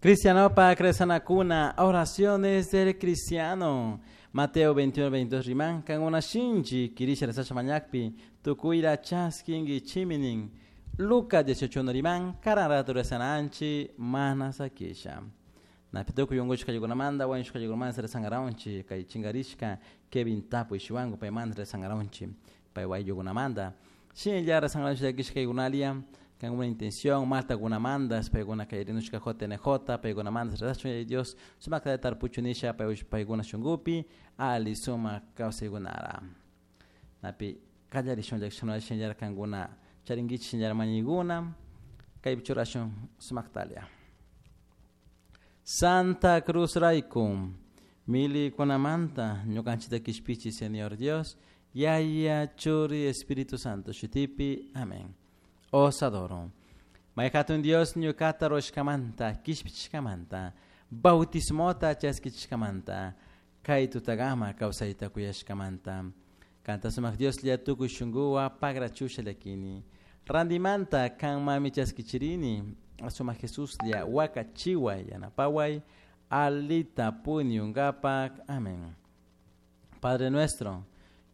Cristianopak rezanakuna, oraciones del cristiano. Mateo 21, 22 riman, kankuna shinchi quirisha rezasha mañakpi, tukuyta chaskinguichimi nin. Lucas 18 riman, karan rato rezananchi, mana sakisha. Napi tukuy unkushka llukunamanta, wañushka llukunamanta rezankaranchik, kay chinkarishka Kevin Tapu ishiwanku paymanta rezankaranchik, pay wayllukunamanta. Shinalla rezankaranchik llakishka kaykunalia, kankuna intención, maltakunamanta, paykuna kay rinushka JNJ, paykunamanta rezashun Yaya Dios, sumakta tarpuchu nisha paykuna shunkupi, ali sumak kawsaykunara. Napi kallarishun llakishun shinallara kankuna charinkichik shinallara mañaykuna, kaypi churashun sumaktalia. Santa Cruz rayku, milikunamanta ñukanchikta kishpichi Señor Dios, Yaya, Churi, Espíritu Santo, shutipi, amén. Os adoro. May hatun Dios ñukata ruwashkamanta, kishpichishkamanta, bautismota chaskichishkamanta, kay tutagama kawsayta kuyashkamanta. Kanta sumak Dios lla tukuy shunkuwa pagrachusha llakini. Randimanta kan mami chaskichirini, sumak Jesus lla wakachiway yanapaway, alita puñunkapak. Amén. Padre nuestro,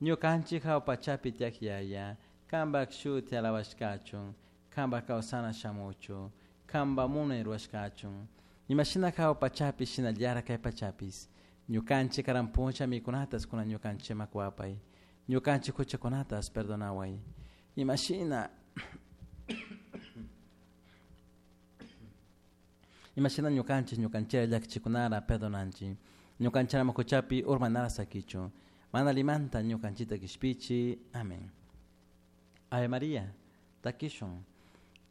ñukanchik hawa pachapi tiyak Yaya, kanpak shuti alabashkachun, kanpak kawsana shamuchu, kanpak munay ruwashkachun. Imashina hawa pachapi shinallara kay pachapis, ñukanchik karan puncha mikunatas kunan ñukanchikman kuwapay, ñukanchik huchakunatas perdonaway. Imashina Imashina ñukanchik ñukanchikra llakichikunara perdonanchik, ñukanchikama huchapi urmanara sakichun, mana limanta ñukanchikta kishpichi. Amén. Ave María, takishun.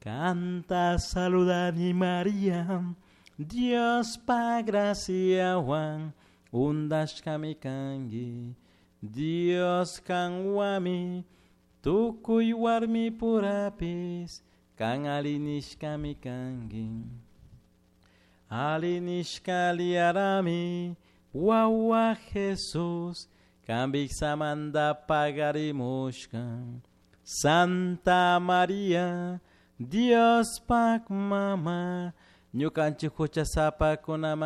Canta saludani María, Dios pa graciawan, undashkami kanki, Dios kanwami, tukuy warmi purapis, kan alinishkami kanki. Alinishka liarami, wawa Jesus, kanpik samanta pagarimushka. Santa María, Dios pak mama, ñukanchik huchasapakunamanta.